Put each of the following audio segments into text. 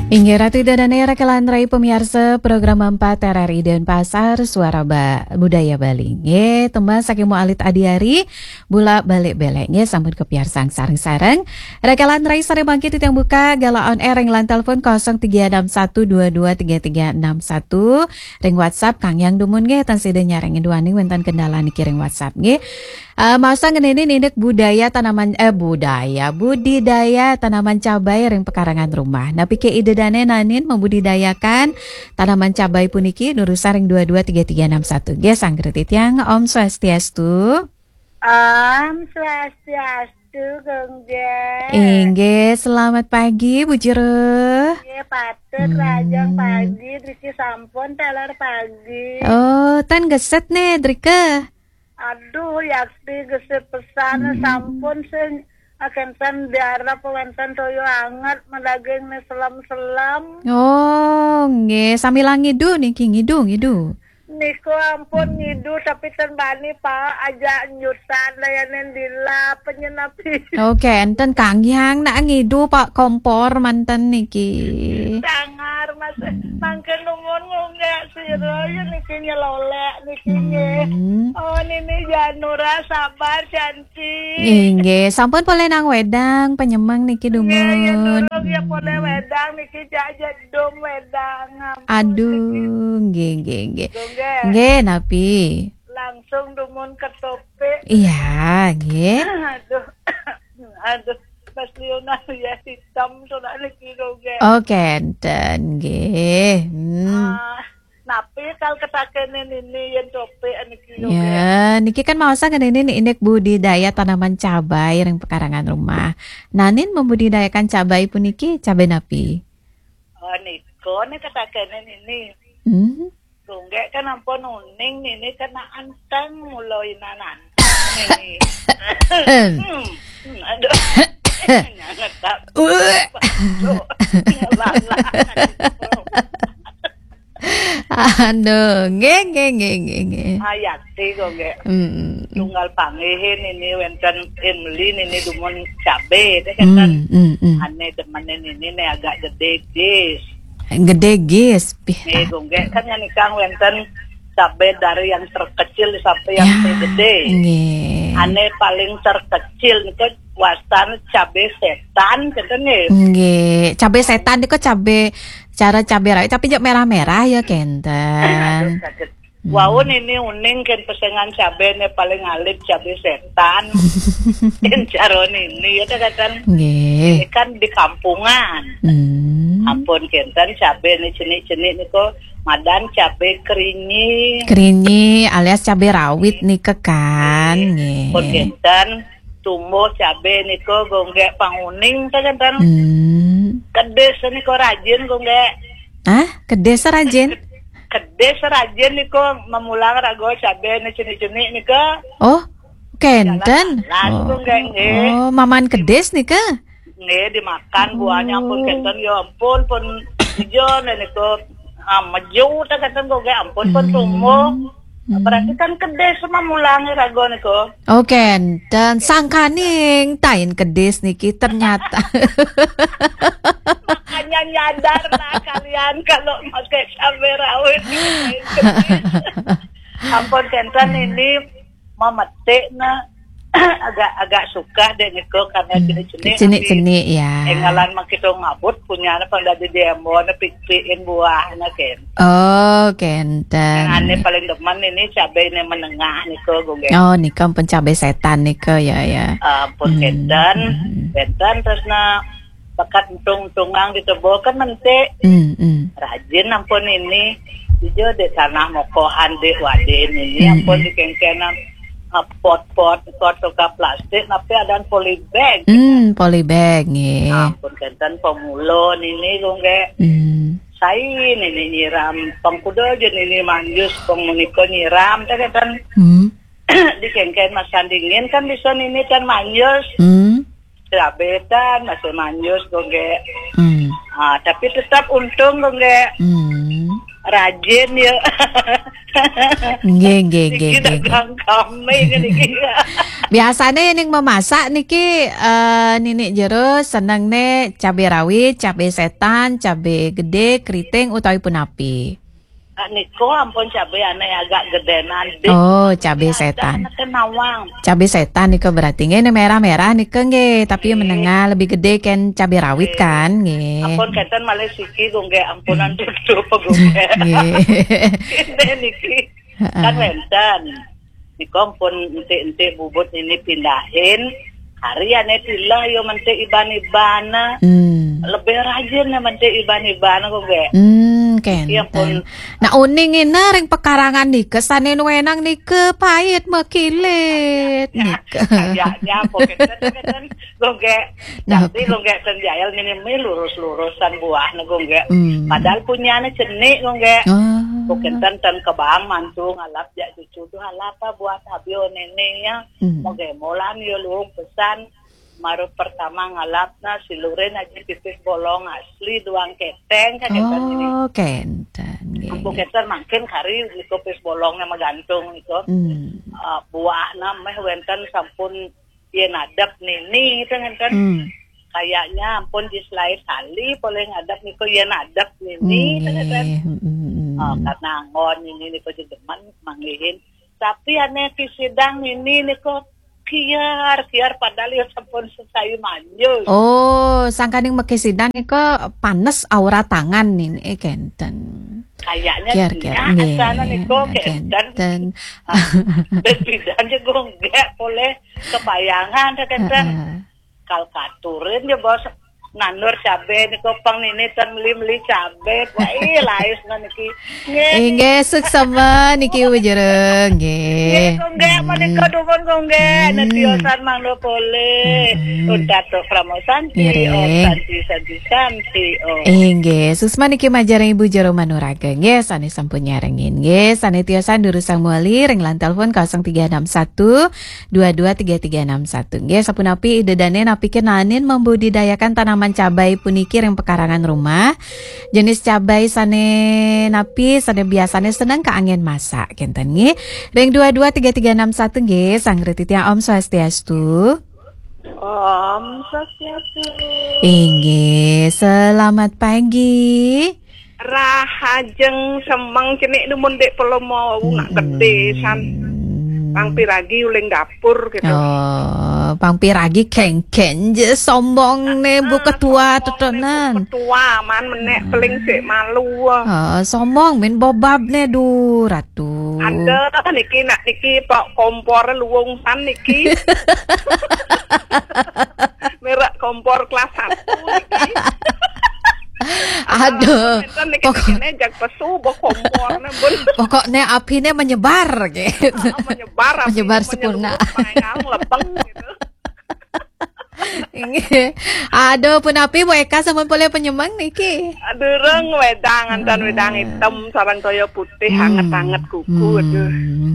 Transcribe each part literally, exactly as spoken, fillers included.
Inggih Ratu Ida Dane, raka lan rai pamiarsa program empat R R I Denpasar, Suara Ba-, Budaya Bali. Nggih, tembang saking Mu Alit Adiari, Bulak Balik Belek. Nggih, sampun kapiarsang sareng-sareng. Raka lan rai sare mangkin titiang buka galah on air ring line telepon kosong tiga enam satu dua dua tiga tiga enam satu. Ring WhatsApp kanggiang dumun nggih, tan sida nyarengin duaning wenten kendala niki ring WhatsApp nggih. Eh, maos ngeninin indik budaya tanaman, eh, budaya, budidaya tanaman cabai ring pekarangan rumah. Napi ke Ida Dane nanin membudidayakan tanaman cabai puniki, nurusan ring dua dua tiga tiga enam satu. Nggih, sanggra titiang, Om Swastiastu. Om Swastiastu, Gongge. Inggih, selamat pagi, Bu Jero. Nggih, patut Hmm. Rajang pagi, driki sampun taler pagi. Oh, tan geset nih, drika. Aduh, yakti gesit pesan, Hmm. Sampun sing akan san diarap wenten toyo anget, madaging nih selem-selem. Oh, nggih, sambil ngidu niki, ngidu, ngidu. Niku ampun Hmm. ngidu, tapi ten bani, Pak, aja nyutan dayanin dila penyenapi. Oke, enten kanggiang nak ngidu, Pak, kompor manten niki. Sangar, Mas. Hmm. Mangke numun ngunggah sira, ya niki nyelolek niki nggih. Hmm. Oh, Nini Janura, sabar, cantik. Inggih, sampun polih nang wedang, penyemeng niki Nggih, ya dumun. Durung ya polih Hmm. wedang niki, jak jedum wedang. Ampun, niki. Aduh, nggih, nggih, nggih. Nggih. Nggih, napi? Langsung dumun ke topik. Iya, nggih. Aduh. Aduh, Mas Leonardo ya hitam sudah niki, nggih. Oh, kenten, nggih. Hmm. Ah, napi kal ketakenin ini yen topik niki, nggih. Ya, niki kan maos ngeninin indik budidaya tanaman cabai ring pekarangan rumah. Nanin membudidayakan cabai puniki, cabai napi? Oh, niku nih ketakenin ini. Hmm. Tunggek kan ampun uning, ini kena anteng, mula inan anteng ini. Hmm. Hmm, aduh. Nyangetak. Uh. Aduh, nggih, nggih, nggih, nggih, nggih. Ayati kok, nggih. Hmm. Tunggal panggihin ini wenten Emily ini dumun cabe, deh, kan. Hmm, hmm, hmm. Ane demenin ini nih agak gede, gis. Gede, gis. Pih. Nggih, nggih. Kan yang nikang wenten cabe dari yang terkecil sampai yang Ya, tergede. Nggih. Ane paling terkecil niku wastan cabe setan, kenten nggih. Nggih, cabe setan niku cabe, cara cabe rawit, tapi jek merah-merah ya, kenten. Aduh, sakit. Hmm. Wau ini uning kan pesengan cabe ne paling alit cabe setan. Kan cara ini ya, kenten. Nggih. Ini kan di kampungan. Hmm. Ampun kenten cabe ne cenik-cenik niku madan cabe kerinyi. Kerinyi alias cabe rawit nika kan, Nggih. Nggih. Pun kenten tumbuh cabe niku gonggek panguning, ta kenten. Hmm. Kedis niku rajin gonggek. Hah? Kedis rajin? Kedis rajin niku memulang rago cabe ni cenik-cenik niku. Oh, kenten. Jalan-jalan Oh. gonggek, nggih. Oh, maman kedis nika? Nggih, dimakan buahnya pun Oh. kenten, ya ampun, pun ijo niku, ah, meju ta kenten kok, nggih, ampun, pun Hmm. tumbuh. Hmm. Berarti kan kedis sama mulangi rago niku. Oh, kenten. Sangkaning tain kedis niki ternyata. Makanya nyadar lah kalian kalau pakai cabai rawit, tain kedis. Ampun, kenten Hmm. ini memetik na agak-agak suka deh niku karena Hmm, cenik-cenik cenik-cenik, tapi ya. Enggalan makito ngabut punya na pang dadi demo na pipiin buah na ken. Oh, kenten. Yang ane paling demen ini cabai ini menengah niku, gonggek. Oh, nika pun cabai setan nika, ya, ya. Ah, pun Hmm, kenten, hmm. kenten terus na bakat untung-untungang di tebo kan mentik. Hmm, hmm. Rajin ampun ini. Ijo di tanah mokohan di wadin ini, Hmm, ampun hmm. dikengkenan, ah, pot-pot, pot tukar plastik, tapi ada polybag. Hmm, polybag, nggih. Ampun kenten pemula nini, gonggek. Hmm. Sai nini nyiram, pengkuda aja nini manjus, pengmuniko nyiram, ta kenten. Hmm. Dikengken masan dingin kan bisa nini kan manjus. Hmm. Cabe tan masih manjus, gonggek. Hmm. Ah, tapi tetap untung, gonggek. Hmm. Rajin ya. Nggih, nggih, nggih, nggih, nggih. Dagang kami ngene iki. Biasane ning memasak niki, eh, Nini Jero senengne cabe rawit, cabe setan, cabe gede, keriting utawi punapi? Ah, niku ampun cabe ane agak gedenan dik. Oh, cabe setan. Ane nawang. Cabe setan niku berarti nggih, ini merah-merah niku nggih, tapi menengah lebih gede kan cabe rawit kan nggih. Ampun kenten malih siki kok nggih, ampunan tutup kok nggih. Nggih. Kenten niki. Heeh. Kan wenten. Niku ampun entik-entik bubut ini pindahin. Hari ane tilah yo mentik iban-iban. Hmm. Lebih rajin ya mentik iban-iban kok nggih. Hmm, kenten. Iya pun. Nah, uning ini ring pekarangan nika sane nuenang nika pait mekilit nika. Kayaknya kok kenten kok nggih. Nah. Tapi kok nggih ten jael ngene lurus-lurusan buah niku nggih. Hmm. Padahal punyane cenik kok nggih. Ah. Kok kenten ten kebang mantu ngalap jak cucu tuh alap apa buah tabio nene ya. Hmm. Moge molan yo luung pesan. Maru pertama ngalapna silurin aja pipis bolong asli duang keteng kan kenten ini. Oh, kenten. Nggih, ampun nggih. Kenten mangkin kari niku pipis bolongnya magantung niku. Hmm. Eh, buahna meh wenten sampun yen adep nini itu ngenten. Hmm. Kayaknya ampun di selain kali boleh ngadep niku yen adep nini itu ngenten. Nggih, mm, mm, mm. Oh, karena anggon ini niku jedemen manggihin. Tapi ane ki sidang nini niku kiar, kiar padahal ya sampun sesayu manjus. Oh, sangkaning mekisidan niku panes aura tangan nini, eh, kenten. Kayaknya kiar, kiar, nggih, asana niku kenten. Kenten. Ah, beda-beda aja kok nggih boleh kepayangan kenten. Heeh. Kal katurin ya bos nandur cabe niku pang nini ten meli-meli cabe. Wah, ih, lais niki. Nggih. Inggih, suksema niki Ibu Jero, nggih. Nggih, kok nggih, menika dumun kok nggih. Hmm. Netiosan mangda polih. Hmm. Untat tok Pramosanti, Om Santi, Santi, Santi, Om. Inggih, suksema niki majeng Ibu Jero Manuraga, nggih, sane sampun nyarengin, nggih, sane tiosan durusang mewali ring line telepon kosong tiga enam satu dua dua tiga tiga enam satu. Nggih, sapunapi Ida Dane napi kenanin membudidayakan tanaman cabai puniki ring pekarangan rumah? Jenis cabai sane napi sane biasane seneng kaanggen masak kenten nggih. Ring dua dua tiga tiga enam satu nggih, sang reti tiang Om Swastiastu. Om Swastiastu. Inggih, selamat pagi. Rahajeng semeng cenik dumun dek pelomo nak gede san. Pang piragi uling dapur gitu. Oh, pang piragi kengken je sombong ne Bu Ketua tetenan. Ketua man menek peling sik malu. Oh, sombong min bobab ne du ratu. Ada niki nak niki pak kompor luwung san niki. Merek kompor kelas satu niki. Aduh. Enten niki pokoknya jak pesu bo kompor ne bun. Pokoknya api ne menyebar gitu. Menyebar api menyebar sepuna. Mayang lepeng gitu. Inggih. Aduh, punapi Bu Eka sampun polih penyemeng niki? Durung wedang, antan wedang hitam sareng toya putih anget-anget kuku aduh.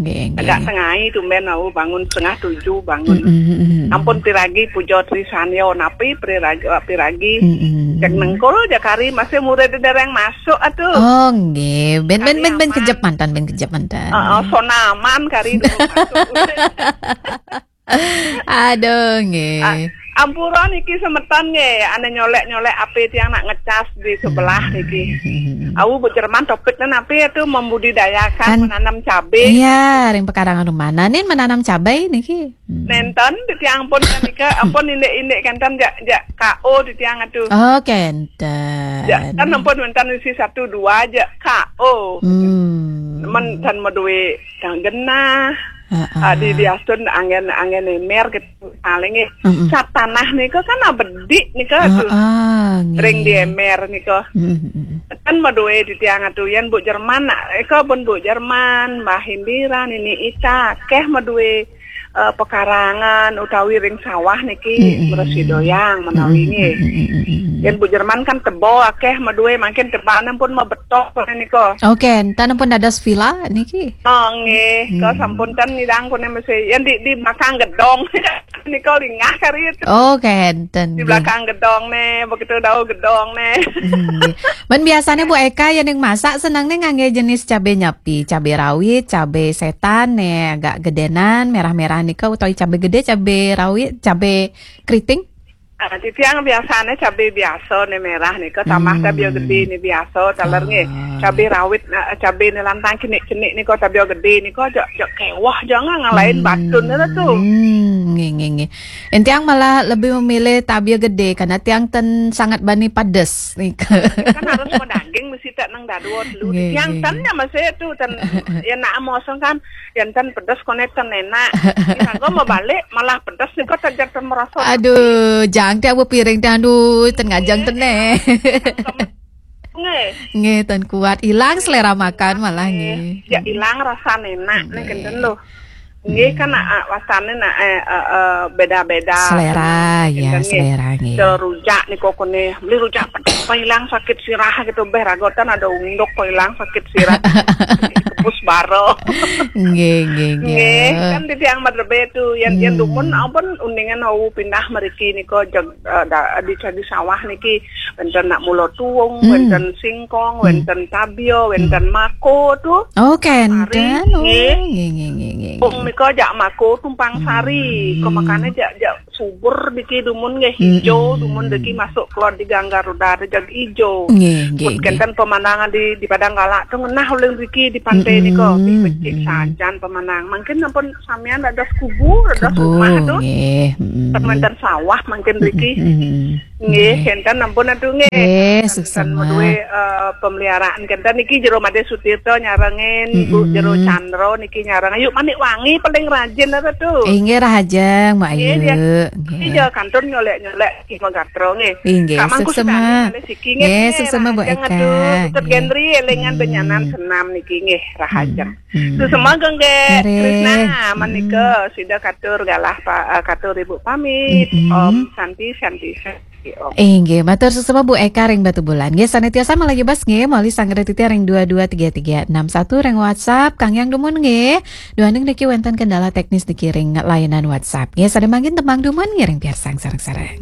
Nggih, nggih. Agak tengai tumben au bangun setengah tujuh bangun. Ampun piragi puja Trisanya napi piragi piragi. Cek nengkul jakari masih murid dereng masuk atuh. Oh, nggih. Ben ben ben ben kejep mantan, ben kejep mantan. Heeh, sonaman kari durung masuk. Aduh, nggih. Ampura niki semeton nggih, ane nyolek-nyolek ape tiang nak ngecas di sebelah niki. Au Bu Jerman topiknya napi itu membudidayakan menanam cabe. Iya, ring pekarangan rumah. Nah, nin menanam cabai niki. Nenten di tiang pun nika ampun indik-indik kenten jak jak K O di tiang atuh. Oh, kenten. Jak kan ampun wenten isi satu dua jak K O. Hmm. Men tan medue kang genah. Heeh. Ah, di diastun anggen anggen emer gitu paling eh. Sat tanah nika kan abedik nika tuh. Heeh, nggih. Ring di emer nika. Kan medue di tiang atuh yen Bu Jerman nak eka pun Bu Jerman, Mbah Indira, Nini Ita, akeh medue eh, pekarangan utawi ring sawah niki, mm-mm, mresidoyang menawi, mm-mm, nggih. Mm-mm. Yen Bu Jerman kan tebo akeh madue, mangkin tebane pun mabetok kene nika. Oke, enten pun dados villa niki. Oh, nggih, kok, hmm, sampun ten nyidang kene mesti. Yen di, di belakang gedong nika lingah kari itu. Oke, enten, di nggih, belakang gedong ne, begitu dau gedong ne. Hmm, nggih. Men biasane Bu Eka yen ning masak seneng ne ngangge jenis cabe nyapi, cabe rawit, cabe setan ne, agak gedenan, merah-merah nika, utawi cabe gede, cabe rawit, cabe keriting? Ah, titiang biasane cabe biasa ne merah nika, tambah, hmm, cabe gede ne biasa, taler nggih. Ah. Cabe rawit, nah, cabe ne lantang cenik-cenik nika, cabe gede nika, jak, jak kewah jangan ngalahin, hmm, batun ne tu. Hmm, nggih, nggih, nggih. Yen tiang malah lebih memilih cabe gede, karena tiang ten sangat bani pedes nika. Kan harus mau daging mesti tak nang dadua dulu. Nggih, tiang nggih, ten nggih. Ya masih tu, ten, ya nak mosong kan, yang ten pedes kone ten enak. Tiang mau balik malah pedes nika, tak jak ten merasa. Aduh, jang tiang bu piring tiang, aduh, ten ngajeng, nggih, ten ne. Nggih. Nggih, ten kuat. Hilang selera makan malah, nggih, nggih. Ya, hilang rasa enak, nggih, nih, kenten loh. Nggih, kan, hmm, ah, ah, wastane nak, eh, eh, eh, beda-beda. Selera, ya, nggih, selera, nggih. Cara rujak nika kene, beli rujak pedes, apa hilang sakit sirah gitu, beh ragotan ada unduk, kok hilang sakit sirah. Kepus baro. Nggih, nggih, nggih. Nggih, kan titiang madrebe tu, yang, yang, hmm, dumun ampun uningan wau pindah meriki nika, jag-, eh, da-, di, di sawah niki, wenten nak mula tuung, hmm, wenten singkong, hmm, wenten tabia, hmm, wenten mako tu. Oh, kenten. Sari, oh, nggih, nggih, nggih, nggih, nggih. Pung nika jak mako tumpang sari. Hmm. Kok makane jak, jak subur diki dumun nggih, hijau, hmm, dumun diki masuk keluar di Gangga Ruda ada jag hijau. Nggih, nggih, nggih. Kenten pemandangan di, di Padang Galak tu ngenah uling diki di pantai, hmm, nika. Ih, becik, hmm, sajan pemandangan. Mungkin ampun samian ada kubur, ada kubur, rumah tu. Nggih, hmm. Wenten sawah mungkin diki. Hmm, hmm, hmm. Nggih, nggih, kenten ampun atu nggih. Nggih, kenten suksema. Madue, eh, pemeliharaan kenten niki jero Made Sutirta nyarengin, Bu, mm-mm, jero Chandra niki nyareng. Ayu Manik Wangi paling rajin atu tu. Inggih, rahajeng, Mbak Ayu. Nggih, dia. Nggih. Iya, kantun nyolek-nyolek ki magatra nggih. Inggih, Kak Mangku suksema. Sudani malih siki nggih, nggih, suksema, Bu rahajeng Eka. Atu. Putut, nggih. Gendri elingan, hmm, benyanan senam niki nggih, rahajeng. Hmm. Hmm. Suksema nggih, nggih. Nggih. Krisna, hmm, menika sida katur galah pa-, eh, katur Ibu pamit. Mm-mm. Om Santi, Santi, Santi. Inggih, matur suksema Bu Eka ring Batubulan. Nggih, sane tiasa malih bas nggih, malih sanggra titiang ring dua dua tiga tiga enam satu ring WhatsApp, Kang Yang dumun nggih. Duaning niki wenten kendala teknis niki ring layanan WhatsApp. Nggih, sane mangkin tembang dumun nggih ring piarsang sareng-sareng.